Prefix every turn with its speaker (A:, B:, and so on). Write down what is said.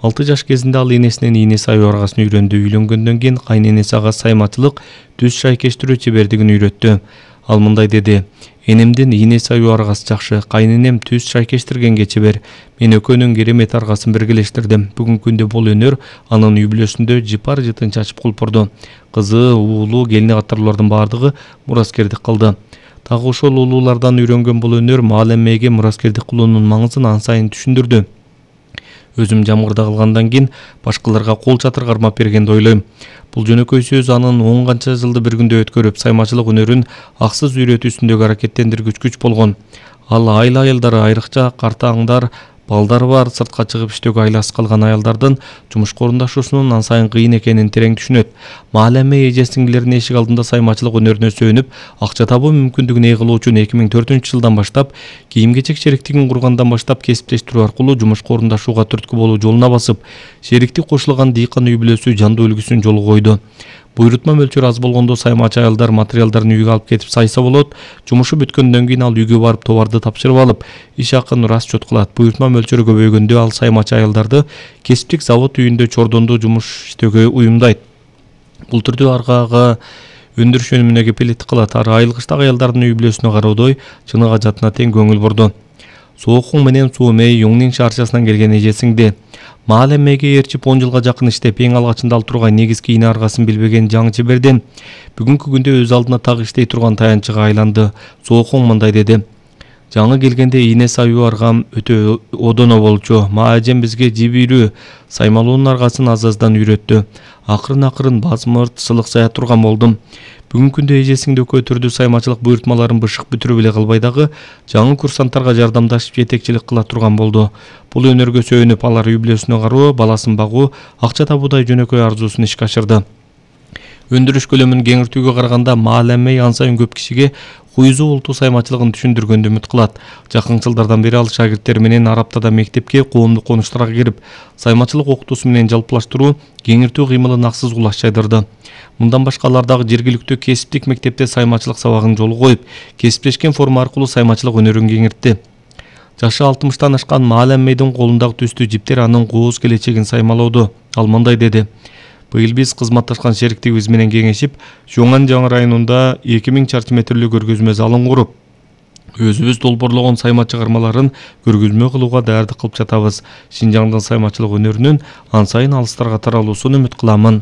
A: 6 жаш кезинде ал энесинен ийне саюу аргасын үйрөндү. Үйлөнгөндөн кийин кайненеси ага саймачылык, түз шайкештирүү чебердигин үйрөттү. Ал мындай деди: "Энемден ийне саюу аргасы жакшы, кайненем түз шайкештиргенге чебер. Мен экөөнүн керемет аргасын биргелештирдим." Бүгүнкү күндө бул өнөр анын үй бүлөсүндө жыпар жытын чачып кулпурду. Кызы, уулу, келини катарлуулардын бардыгы мураскердик кылды. Дагы ошол улуулардан үйрөнгөн бул өнөр маалемеге мураскердик кылуунун маңызын ан сайын түшүндүрдү. Өзүм жамгырда калгандан кийин башкаларга кол чатыр кармап бергенди ойлойм. Бул жөнөкөй сөз анын 10 канча жылды бир күндө өткөрүп, саймачылык өнөрүн аксыз үйрөтүүсүндөгү аракеттендиргүч күч болгон. Ал айла аялдары, айрыкча картаңдар, балдары бар, сыртка чыгып иштөөгө айласыз калган аялдардын жумушка орундашуусунун ан сайын кыйын экенин терең түшүнөт. Маалеме эже-сиңдилеринин эшик алдында саймачылык өнөрүнө сөөнүп, акча табуу мүмкүндүгүн ээлөө үчүн 2004 жылдан баштап, кийим-кечек шериктигин кургандан баштап кесиптештирүү аркылуу жумушка орундашууга түрткү болуу жолуна басып, шерикти кошулган дыйкан үй бүлөсү жандуу үлгүсүн жолго койду. Буйрутма мөлчөрү аз болгондо саймачы аялдар материалдарын үйгө алып кетип сайса болот. Жумушу бүткөндөн кийин ал үйгө барып товарды тапшырып алып, иш акын расчет кылат. Буйрутма мөлчөрү көбөйгөндө ал саймачы аялдарды кесиптик завод үйүндө чордондо жумуш иштөөгө уюмдайт. Бул түрдө аргага өндүрүш өнүмүнө кепилдик кылат. Ар айылгычтагы аялдардын үй бүлөсүнө кароодой чыныгы жатына тең көңүл бурду. Соокуң менен Суумей Юңнин шаарчасынан келген эже-сиңди. Маалемеге ээрчип 10 жылга жакын иштеп, эң алгачында ал тургай негизги ийне аргасын билбеген жаңы чеберден бүгүнкү күндө өз алдына так иштей турган таянчыга айланды. Соокуң мындай деди: "Жаңы келгенде ийне саюу аргам өтө одоно болчу. Ажем бизге жибирүү, саймалуунун аргасын аз-аздан үйрөттү. Акырын базмырт, сылык сая турган болдум. Бүгүнкү күндө эже-сиңди экөө түрдүү саймачылык буйрутмаларын бышык бүтүрүп эле калбай дагы жаңы курсанттарга жардамдашып жетекчилик кыла турган болду. Бул өнөргө сөөнүп, алар үй бүлөсүнө кароо, баласын багуу, акча табуудай жөнөкөй арзуусун ишке ашырды." Өндүрүш көлөмүн кеңиртүүгө караганда Маалемей ан сайын көп кишиге Хуйзу улуту саймачылыгын түшүндүргөндү үмүт кылат. Жакын жылдардан бери ал шагирттери менен Араптада мектепке, коомдук конуштарга кирип, саймачылык окутуусу менен жалпылаштыруу, кеңиртүү кыймылын аксыз кулаш жайдырды. Мындан башка алар дагы жергиликтүү кесиптик мектепте саймачылык сабагын жолго коюп, кесиптешкен форма аркылуу саймачылык өнөрүн кеңиртти. Жашы 60-тан ашкан Маалемейдин колундагы түстүү жиптер анын кооз келечегин саймалоодо. Ал мындай деди: "Быйыл биз кызматташкан шериктигибиз менен кеңешип, Жуңан жаңы районунда 2000 чарчы метрлүү көргөзмө залын куруп, өзүбүз долбоорлогон сайма чыгармаларын көргөзмө кылууга даярдык кылып жатабыз. Шинжаңдын саймачылык өнөрүнүн ан сайын алыстарга таралуусун үмүт кыламын."